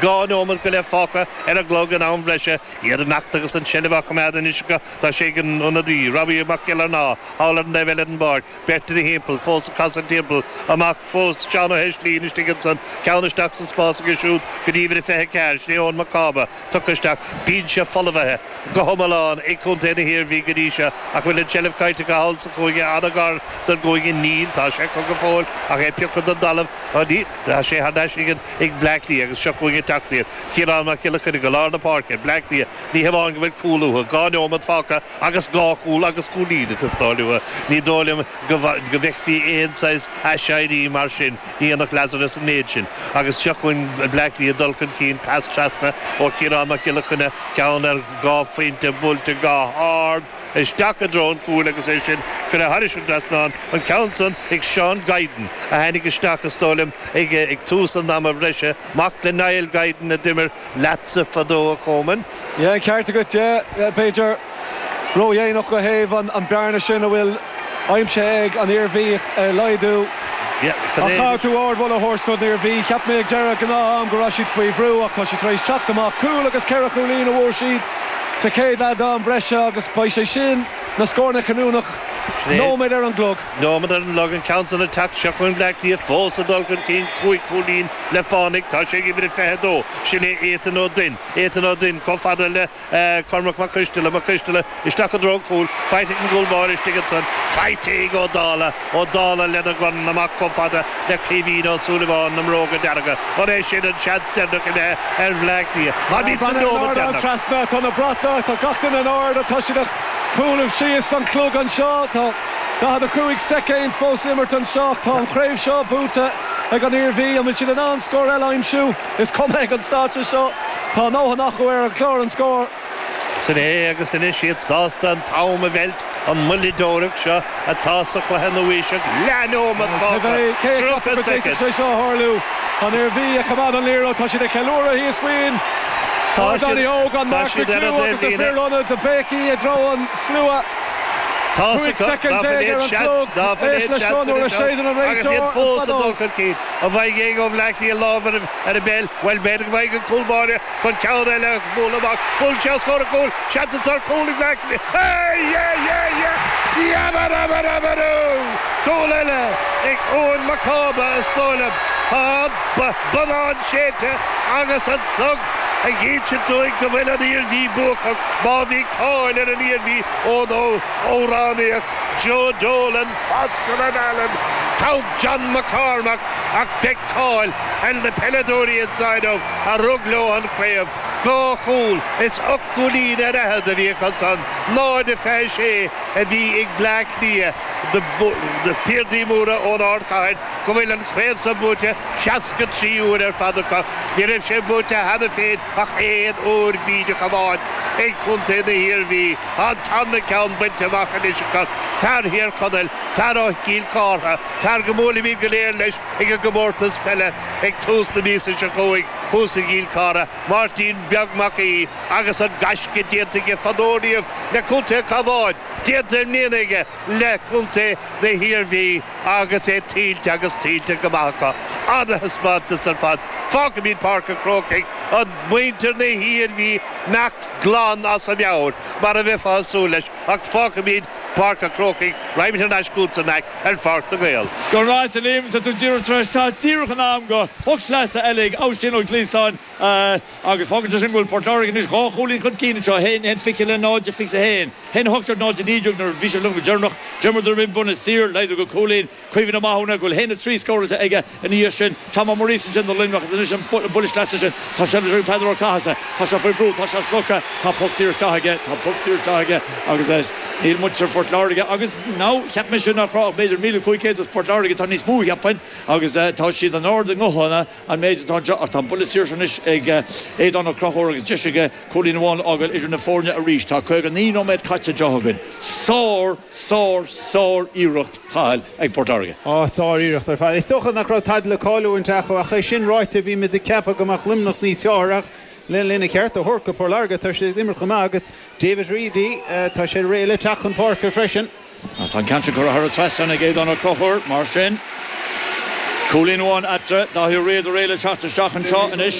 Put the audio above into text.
2 nóiméad go leith fágtha ar an gclog in am bhreise. Iad ag imeacht agus an tseilbh á choimeád anois acu. Tá sé ag an ionadaí, Robbie Mac Giollarnáth, thall ar an dtaobh eile den bpáirc. Beirt ina thimpeall, fós ag casadh timpeall. Amach fós Seán Ó hEislín istigh ansan. Ceann isteach sa spás aige siúd go dtí uimhir a 24, sin é Eoin Mac Cába. Tugtha isteach. Binse folmhaithe go hiomlán ag contae na hIarmhí go dtí seo ach bhfuil an tseilbh caillte acu thall sa chúinne, an-ghar don gcúinne. Níl, tá sé acu go fóill ach é pioctha den dtalamh. Níl, tá sé thar n-ais ag ag Bleá Cliath agus seo chugainn ag teacht iad. Ciarán Mac Giolla Chainnigh i lár na páirce, Bleá Cliath, ní hamháin go bhfuil cúl uathu, 2 neomat fágtha agus dhá chúl agus cúilín ag teastáil uathu. Ní dóigh liom go bhfeicfí aon saghas aiséirí mar sin, ní dhéanfadh Lazarus an méid sin. Agus seo chugainn Bleá Cliath ag dul chun cinn, pas trasna ó Chiarán Mac Giolla Chainnigh, ceann ar dhá phointe buailte go hard. isteach i dtreo an chúil agus é sin curtha thairis an dtrasnán, an ceann san ag Seán Guiden a tháinig isteach is dóigh liom ag tús an ama bhreise, mac le Niall Guiden a d'imir leatsa fadó a Choman. Yeah, an ceart agat, yeah. B'fhéidir ródhéanach ó thaobh an bearna sin a bhfuil aimsithe ag an Iarmhí a laghdú. Ach caithfidh tú ardmholadh a thabhairt don Iarmhí. Cheap mé ag deireadh gnáth-am go raibh siad faoi bhrú ach tá siad tar éis teacht amach. Cúl agus ceithre chúilín a bhfuair siad sa chéad leath d'am breise agus beidh sé sin na scóranna cinniúnach. Nóiméad ar an gclog. Nóiméad ar an gclog, an ceann san ag teacht. Seo chugainn Bleá Cliath fós ag dul chun cinn, 5 chúilín le fánaidh. Tá sé ag uimhir a 22. Sin é Ethan Ó Duinn. Ethan Ó Duinn chomh fada le. Cormac Mac Coisteala, Mac Coisteala isteach i dtreo an chúil, faighte ag an gcúl báire istigh ansan, faighte ag Ó Dálaigh, Ó Dálaigh lena dhorn amach chomh fada le Caoimhín Ó Súilleabháin na mbróga dearga. An é sin an seans deireanach imithe ar Bhleá Cliath? Táimid sa nóiméad deireanach. Trasna, tá na bratacha, tá gach duine in airde, tá siad ag cúnamh síos an clog anseo, tá 45 soicind fós le imirt anseo, tá an chraobh seo buaite ag an Iarmhí, an bhfuil siad in ann scór eile a aimsiú? Is cuma ag an stáitse seo, tá a ndóthain acu ar an chlár an scór. Sin é agus anois iad sásta an t-am a mheilt, an moilleadóireacht seo atá sa chluiche nua-aoiseach, leathnóimeat fágtha, Cé a cheapfadh 30 go bhféadfadh soicind. sé seo a tharlú? Tá an Iarmhí ag coimeád an liathróid, tá siad ag ceiliúradh thíos faoin Tá ardán siad, óg, an tá Mark siad ar an McHugh agus na dtaobhlíne. fir ionaid ag béicíl i dtreo an slua. Tá 15 acu, ná soicind fuil ar aon an seans, chlog, ná fuil éist aon leis seo seans nuair a anois ann séideann an agus iad réiteoir an fós ag dul feadóg. chun cinn. An bhfaighidh éinne ó Bhleá Cliath lámh ar an bpeil? Bhuel, b'fhéidir go bhfaighidh an cúl báire chun ceann eile a bhualadh amach. Buaileann sé os comhair an chúil. Seans anseo ar chúl ag Bleá Cliath. Hey! Yeah! Yeah! Yeah! Yabba-dabba-dabba-doo! Cúl eile ag Eoin Mac Cába, is dóigh liom. Tá an bonnán séidte agus an clog ag insint dúinn go bhfuil an Iarmhí buacach má bhí cáil ar an Iarmhí ón amhránaíocht Joe Dolan, Foster and Allen, Count John McCormack ach beidh cáil ar na peileadóirí anseo inniu a rug leo an chraobh. Dhá chúl is ocht gcúilín ar fhichead a bhí acu san, 0-26 a bhí ag Bleá Cliath, na piardaí móra ón ardchathair go bhfuil an chraobh seo buaite 63 uair ar fad acu. Ní raibh sé buaite cheana féin ach aon uair bídeach amháin ag contae na hIarmhí. Tá an tarna ceann bainte amach anois acu. Fear Thír Chonaill, fear ó Chill Chártha, fear go mbuailfimid go léir leis ag an gcomórtas peile ag tús na míosa seo chugainn thuas i gCill Chartha, Máirtín Beag Mac Aoidh agus an gaisce déanta aige fadó riamh le contae an Chabháin, déanta i mbliana aige le contae na hIarmhí agus é tuillte agus tuillte go maith acu. Ana-thaispeántas ar fad. Fágfaimid Páirc an Chrócaigh, an muintir na hIarmhí imeacht glan as a meabhair mar a bheifeá ag súil leis ach fágfaimid Páirc an Chrócaigh, raghaimid thar n-ais chugatsa Mac ar Pháirc na nGael. Go raibh maith agat a Liam, tá tú díreach tar éis teacht díreach in am do phoc sleasa eile ag Oisín Ó Gliasáin agus fágann sé sin go bhfuil Port Láirge anois dhá chúilín chun cinn anseo, 1, 1 20 le 0, 21, 1, 18 0, 19 nuair a bhí sé liom go deireanach. D'imríodar an buille saor, laghdú go cúilín. Cuimhin Ó Mathúna go bhfuil 1-3 scóráilte aige ina dhiaidh sin. Tom Ó Muiríosa ansin do Luimneach agus anois an buille sleasa sin. Tá sé ag Peadar Ó Cathasaigh. Tá sé faoi bhrú. Tá sé slogtha. Tá poc saor isteach aige. Tá poc saor isteach aige agus níl muintir Phort Láirge agus now cheap mise nach raibh ach b'fhéidir 1,500 as Port Láirge. Tá níos mó cheapfainn agus tá siad in ard a nguthanna an méid atá anseo ach tá an buille saor seo anois ag Aodán Ó Conchúir agus deis aige cúilín amháin a fhágáil idir na foirne arís. Tá 59 nóiméad caite anseo againn. Sár, sár, sár iarracht. Cathal ag Port Láirge. Á, sár-iarracht ar fad. Is dócha nach raibh tada le cailliúint acu ach é sin ráite bhí muid ag ceapadh go mbeadh Luimneach níos fearr ach lena cheart a thabhairt go Port Láirge tá siad ag imirt chomh maith agus David Reidy tá sé réidh le teacht chun páirce freisin. Tá an ceann sin curtha thar an trasnán ag Aodán Ó Conchúir mar sin. Cúilín amháin eatarthu, Dáithí Ó Riada réidh le teacht isteach anseo anois.